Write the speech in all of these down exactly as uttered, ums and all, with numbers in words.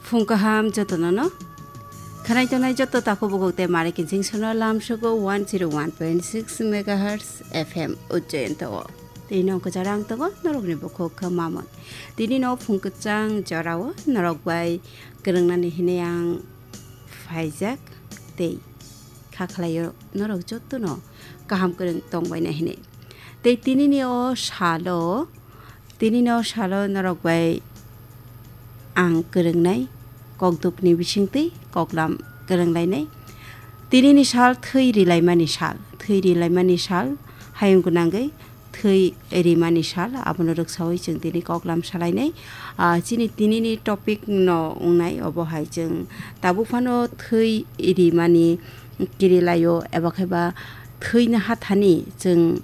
Phung kaham jotono no. Khanai tongnai joto takhuk bukhuk tei mari kinsing sono lamsogo one zero one point six megahertz F M Ujjayanto o. Tei nong kwcharo ang tongo norokni bukhuk khe Mamon. Tini no phung kwchang jorao norok bai kwrwngnani hinwi ang phaijak tei kha khlaio norok jotono kaham kwrwng tongbaina hinwi. Tei tinini o salo, tinini o salo norok bai ang kwrwngnai kokdukni bisingtwi koklam kwrwnglainai. Tinini sal thwi rilaimani sal, thwi rilaimani sal, hayung gwnangwi thwi rimani sal, abono rwksaui chwng tini koklam salainai. Ah, chini tinini topic no wngnai, obo hai chwng tabuk phano thwi rimani kirilaio, eba khe ba thwina hathani chwng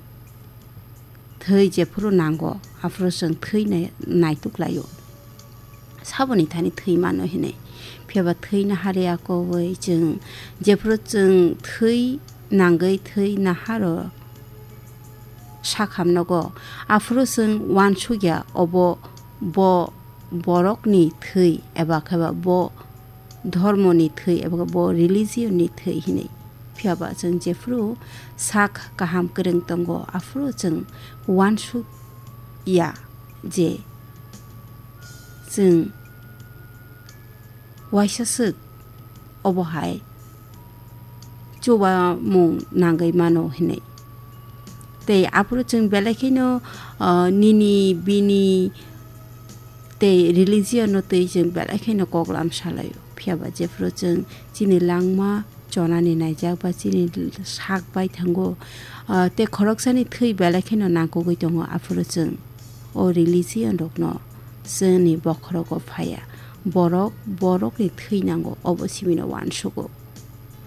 thwi jephuru nango, aphuru chwng thwi nai-, naituk laio. Saboni thani thwi mano hinwi. Phiya ba thwi nahari akowi chwng, jephuru chwng thwi nangwi thwi naharo sakham nogo, aphuru chwng uansukya obo bo borokni thwi eba khe ba bo dhormoni thwi eba bo religion ni thwi hinwi. Phiya ba chwng jephuru sak kaham kwrwng tongo, aphuru chwng uansuk ya je chwng waisa swk obo hai chubamung nangwi mano hinwi. Tei aphuru chwng belai kheno, ah, nini bini tei religion no twi chwng belai kheno koklam salaio. Phiya ba jephuru chwng chini langma chonani naijak ba chini sak bai thango, ah, tei khoroksani thwi belai kheno nangkukgwi tongo, aphuru chwng o religion rokno chwngni bokhorogo phaiya. Borok borokni thwi nango, obo simino uansugo.